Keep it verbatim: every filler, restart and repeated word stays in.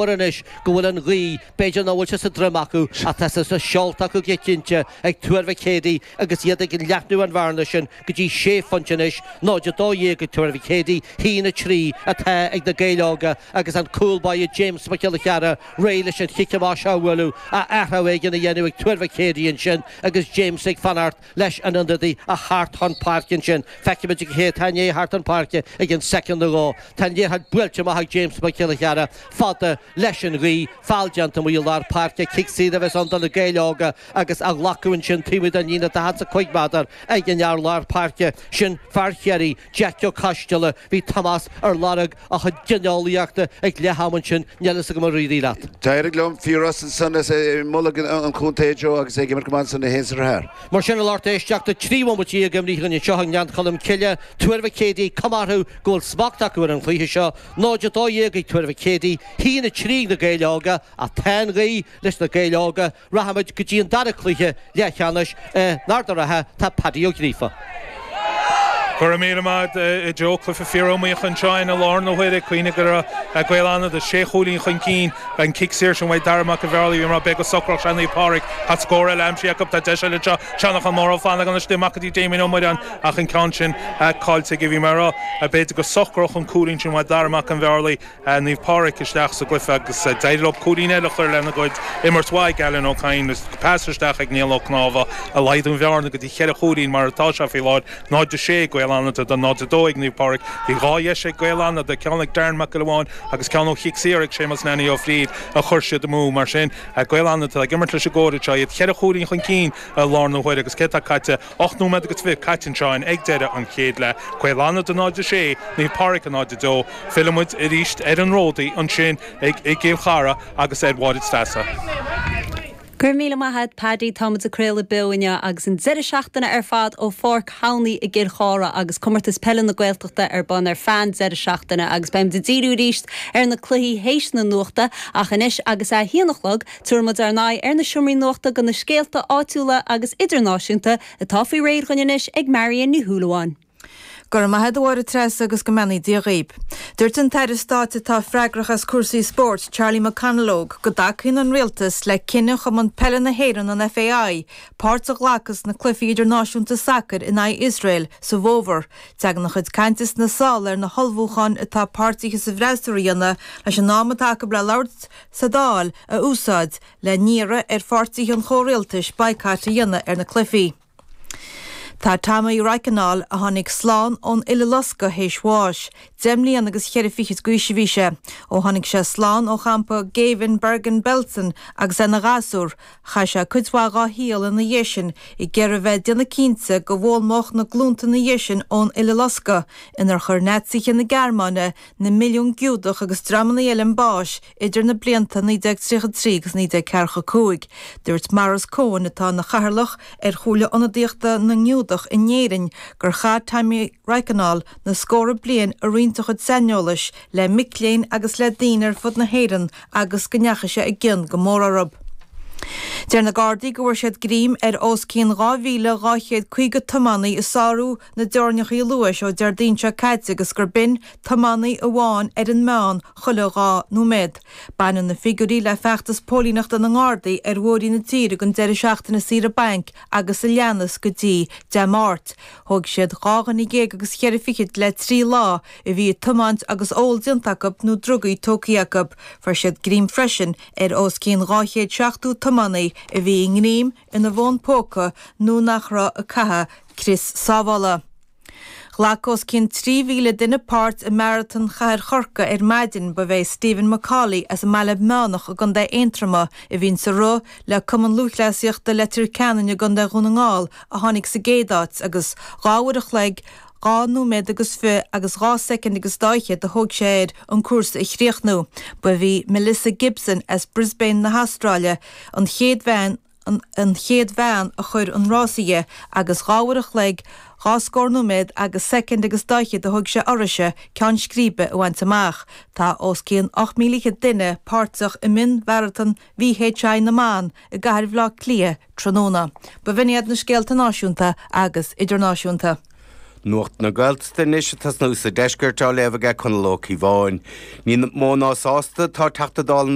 anois go bhfuil an ghaoth b'fhéidir nach bhfuil sé sa droim acu ach tá sé sna seolta acu go cinnte ag Tuar Mhic Éadaigh agus iad ag leathnú an bhearna sin go dtí sé phointe anois náid a dó dhéag ag Tuar Mhic Éadaigh haon a trí atá ag na Gaeil Óga agus an cúl báire James Mac Giolla Chearra réidh leis an chic amach seo a bhualadh athrú éigin a dhéanamh ag Tuar Mhic Éadaigh ansin agus James ag fanacht leis an ionadaí a theacht chun páirce ansin. Feicimid cé atá ag teacht chun páirce ag an soicind nó dhó. Tá an liathróid buailte amach ag James Mac Giolla Chearra fada leis an ghaoth feall déanta amuigh i lár páirce cic saor a bheas ann do na Gaeil Óga agus á ghlacadh ansin taobh den líne daichead is a cúig méadar ag an fhear lár páirce sin fear Chiarraí Jack Ó Coisteala bhí Tomás ar lorg a chuid gineolaíochta ag leath am ansin níl a fhios agam ar éirigh leat. D'éirigh liom fíor san moladh an chontae Joe agus ag imirt go san na haon Mar sin a lucht éisteachta trí bhomaite imithe anseo i nGleann Cholm Cille Tuar Mhic Éadaigh cuma orthu go bhfuil smacht acu ar an chluiche seo náid a dó dhéag ag Tuar Mhic Éadaigh haon a trí na Gaeil Óga ach tá an ghaoth leis na Gaeil Óga rachaimid go dtí an dara cluiche leathcheannais in Ard an Rátha tá Paddy Ó Gríofa. Go raibh míle maith agat Joe cluiche fíoriomaíoch anseo i láthair na huaire cuimhnigh go raibh Gaeil Fhánada sé chúilín chun cinn an cic saor sin uaidh Dara Mac an Bhearlaí mar be go socrach se Naomh Pádraig Tá scór eile aimsithe acu tá deis eile seo Seanachán Mór Flanagan amach go dtí Damien Ó Muireáin ach an ceann sin caillte bhí mar b'fhéidir go socródh an cúilín sin uaidh Dara Mac an Bhearlaí Naomh Pádraig isteach sa gcluiche agus d'éirigh leo cúilín eile chur lena gcuid imirt mhaith Alan Ó Cadhain pas isteach ag Niall Ó Cnámha a laghdú an bhearna go dtí cheithre chúilín mar atá sé faoi láthair náid a sé Gaeil Fhánada do náid a dó ag Naomh Pádraig Bhí dhá dheis ag Gaeil Fhánada ceann ag Darren Mac Gabháin agus ceann ó chic saor ag Séamus Nanny Ó Fríd a chuir siad amú mar sin Gaeil Fhánada ag imirt leis an gcóir seo iad cheithre chúilín chun cinn lár na huaire agus cé tá caite ocht nóiméad agus fiche caite anseo ag deireadh an chéad leath Gaeil Fhánada náid a sé Naomh Pádraig a náid a dó Fillfimid arís ar an Ródaí ansin ag ag Cill Chartha agus ar Mháire Treasa. Gur míle maith Paddy táimid ag craoladh beo inniu agus an deireadh seachtaine ar fad ó Pháirc Thamhnaí i gCill Chartha agus comórtas peile na Gaeltachta ar bun ar feadh an deireadh seachtaine agus beimid ag díriú arís ar na cluichí théis na nuachta ach anois agus a haon a chlog tabharfaimid ár n-aghaidh ar na seomraí nuachta do na scéalta áitiúla agus idirnáisiúnta atá faoi réir againn anois ag Marion Ní Shúilleabháin. Gur maithe dóir tres agus go mbeannaí Dia dhaoibh. Dúirt an tAire Stáit atá freagrach as cúrsaí spóirt Charlie McConalogue go dtacaíonn an rialtas le cinneadh Chumann Peile na hÉireann an FAI, páirt a ghlacadh sna cluichí idirnáisiúnta sacair in aghaidh Iosrael sa bhfómhar. Tagann a chuid cainte sna sála ar na hullmhúcháin atá páirtithe sa bhfreasúra a dhéanamh leis an am atá acu le labhairt sa Dáil a úsáid le hiarraidh ar pháirtithe an chomhrialtais boycott a dhéanamh ar na cluichí. Tá Tommy Reichenal a tháinig slán ón Uileloscadh théis bháis, Deich mbliana agus cheithre fichid d'aois a bhí sé, ó tháinig sé slán ó champa géibhinn Bergen-Belsen agus é ina ghasúr, chaith sé cuid mhaith dá shaol ina dhiaidh sin ag iarraidh bheith ag déanamh cinnte go bhfoghlaimeodh na glúnta ina dhiaidh sin ón Uileloscadh, inar chuir Naitsithe na Gearmáine na milliún Giúdach agus dreamanna eile chun báis idir na blianta naoi déag tríocha trí agus naoi déag ceathracha cúig. Dúirt Maurice Cohen atá ina chathaoirleach ar Chomhairle Ionadaíochta na nGiúdach in Éirinn gur chaith Tommy Reichenal na scórtha bliain ag roinnt a chuid saineolais le mic léinn agus le daoine ar fud na hÉireann agus go ndeachaigh sé i gcion go mór orthu. Deir na Gardaí go bhfuair siad greim ar os cionn dhá mhíle dhá chéad caoga tiománaí ag sárú na dteorainneacha luais ó Déardaoin seo caite agus gur b'in tiománaí amháin ar an meán chuile dhá nóiméad. Baineann na figiúirí le feachtas póilíneachta na nGardaí ar bhóithre na tíre don deireadh seachtaine saoire bainc agus a leanas go dtí Dé Máirt. Thóg siad dhá dhuine déag agus cheithre fichid le trí lá a bhí ag tiomáint agus ól déanta acu nó drugaí tógtha acu. Fuair siad greim freisin ar os cionn dhá chéad seachtó tiománaí a bhí i ngreim ina bhfón póca nó nach raibh ag caitheamh crios sábhála. Ghlac os cionn trí mhíle duine páirt i Maratón Chathair Chorcaí ar maidin ba é Stephen McCauley as an mBaile Meánach i gContae Aontroma a bhí sa rith le Cumann Lúthchleasaíochta Leitir Ceanainn i gContae Dhún na nGall a tháinig sa gcéad áit agus dhá uair a chloig dhá nóiméad agus fiche agus dhá soicind agus daichead a thóg sé air an cúrsa a chríochnú. Ba í Melissa Gibson as Brisbane na hAstráile an chéad bhean an, an chéad bhean a chuir an rása dhe agus dhá uair a chloig dhá scór nóiméad agus soicind agus daichead a thóg sé uirthise ceann scríbe a bhaint amach. Tá os cionn ocht míle duine páirteach i mionmharatón VHI na mban i gCathair Bhaile Átha Cliath tráthnóna. Ba bh'in iad na scéalta náisiúnta agus idirnáisiúnta. Nuacht na Gaeltachta anois ag tosnú sa deisceart á léamh aige Conall Ó Cíobháin. Ní mó ná sásta tá Teachta Dála